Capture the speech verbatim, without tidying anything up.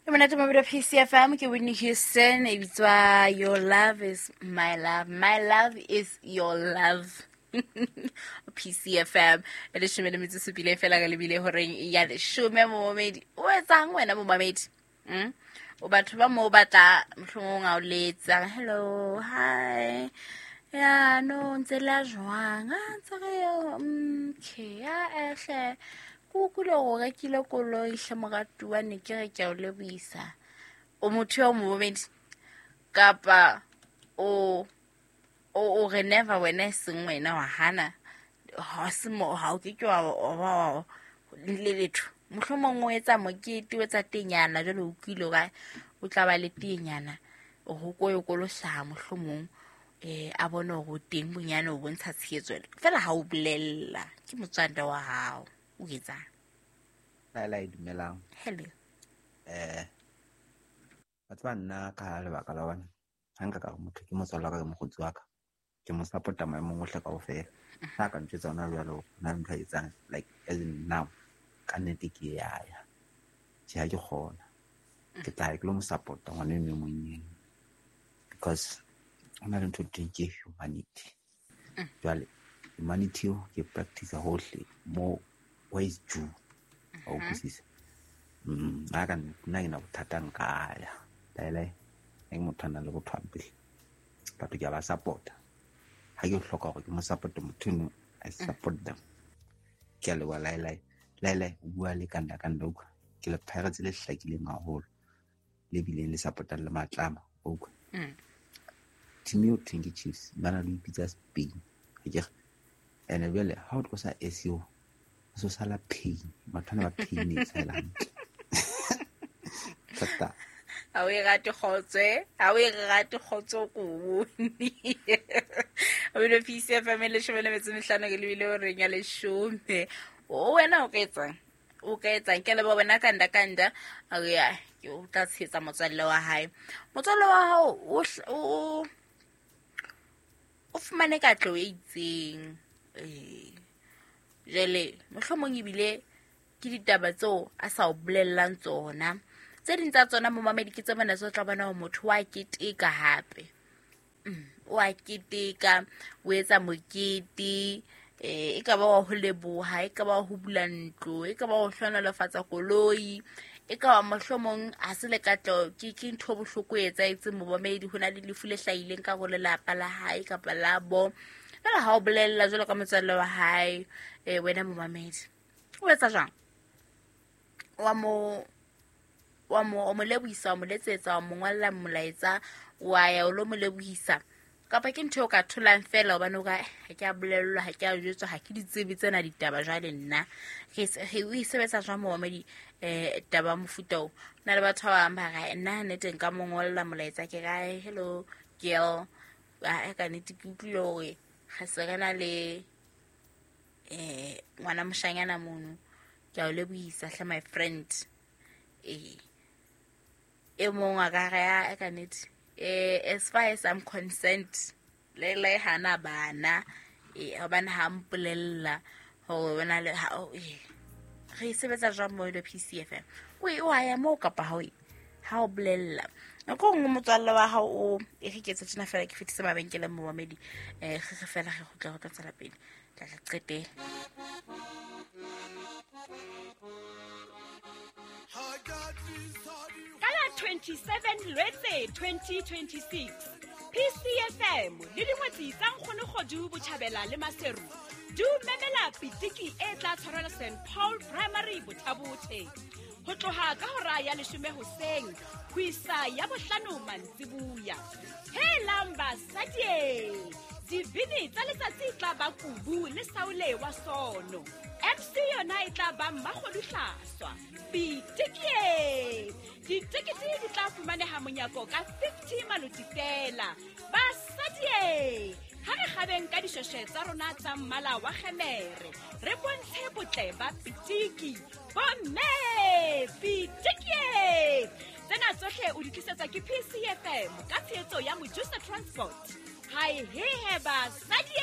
E monate mabelo P C F M ke Whitney Houston e bitswa Your Love Is My Love. My love is your love. P C F M e leshome le metso supile fela ka lebile horeng ya leshome momamedi. O etsang wena momamedi? Mm? O batho ba mo batla mohlomong a o letsa. Hello, hi. Ya no ntse la jwang? Ah ntse re okay ya ehle. Kukulo go rekile koloi hle moratuwa ne ke re ke a o lebohisa. O motho yo momamedi kapa o o o re never wena e seng wena wa hana ha se mo ha o ke ke wa wa le letho. Mohlomong o etsa mokete o etsa tenyana jwale o utlwile ka o tla ba le tenyana o ho koyo kolosa mohlomong eh a bone hore o teng bonyane o bontsha tshehetso fela ha o bolella ke motswanda wa hao o etsang. Laila e dumelang. Hello. Eh batho ba nna ka lebaka la bona ha nka ka motho ke motswalla ka ke mokgotsi wa ka ke mo support-a maemong ohle kaofela. Ha ka ntjwetsa hona jwalo na ntho e etsang like as in now ka nnete ke ya ya. Tjhe ha ke kgona. Ke tla ke lo mo support-a ngwana eno e monyane because hona le ntho e teng ke humanity. Jwale humanity eo ke practice hohle mo where is due. O utlwisisa? Mm, ha ka nna ke na bothata nka ya. Laila e motho a nang le botho hampe. Batho ke a ba support-a. Ha ke hloka hore ke mo support motho eno, I support them. Ke a leboha Laila. Laila o bua le kanda kanda utlwa. Ke le Pirates le hlakileng haholo. Le bileng le support-ang le matlama utlwa. Mm. Team eo thweng ke Chiefs ba na le ho ipitsa Spain. Akere ene jwale ha o tlosa S E O so sala pain. Batho bana ba pain e fela hantle. Thata. Ha o e rate kgotso, ha o e rate kgotso ko bone. O ile P C F M leshome le metso e mehlano ke lebile horeng ya leshome. O wena o ka etsang? O ka etsang? Ke leboha wena kanda kanda. A re ya ke o tla tshehetsa motswalle wa hae. Motswalle wa hao o o o fumane katleho e itseng. Eh jwale mohlomong ebile ke ditaba tseo a sa o bolellang tsona. Tse ding tsa tsona momamedi ke tse mona tse tla bona hore motho wa keteka hape. Mm, wa keteka, o etsa mokete, eh e ka ba wa ho leboha, e ka ba ho bula ntlo, e ka ba ho hlohonolofatsa koloi, e ka ba mohlomong ha se le katleho ke ke ntho bohloko e etsahetseng momamedi ho na le lefu le hlahileng ka hore lelapa la hae kapa la bo. Fela ha o bolella jwalo ka motswalle wa hae, eh wena momamedi o etsa jwang? Wa mo wa mo o mo lebohisa, wa mo letsetsa, wa mo ngolla molaetsa, wa ya o lo mo lebohisa kapa ke ntho eo ka tholang fela hobane o ka ha ke a bolellwa, ha ke a jwetswa, ha ke di tsebe tsena ditaba jwale nna. Re re o e sebetsa jwang momamedi eh taba mofuta o? Na le batho ba bang ba re nna nnete nka mo ngolla molaetsa ke ra hello girl, a ka nnete ke utlwile hore ga se re na le eh ngwana moshanyana mono ke a o lebohisa hle my friend. Eh e mong a ka re a ka nnete eh as far as I'm concerned le le hana bana eh hobane ha mpolella hore bona le ha eh re sebetsa jwang mo le P C F M o e wa ya mo kapa ha o ha o bolella nako nngwe motswalle wa hao o e re ke tse tjena fela ke fetise mabenkeleng momamedi eh re re fela re kgutla go tla tswela pele tla re qete. Ka la twenty-seven Lwetse twenty twenty-six P C F M le dingwetsi tsa Nkgono Kgodu Botjhabela le Maseru di o memela pitiki e tla tshwarelwa Saint Paul Primary Bothabothe ho tloha ka hora ya leshome hoseng ho isa ya bohlano mantsibuya. Helang basadi, dibini tsa letsatsi tla ba Kubu le Saule wa Sono. M C yona e tla ba Mmakgodu Hlaswa. Pitiki! Ditekete di tla fumaneha monyako ka fifty maloti fela. Basadi, ha re kgabeng ka dishweshwe tsa rona tsa mmala wa kgemere, re bontshe botle ba pitiki. Bomme, pitiki! Tsena tsohle o di tlisetswa ke P C F M ka tshehetso ya Mojusa Transport. Hai he he basadi!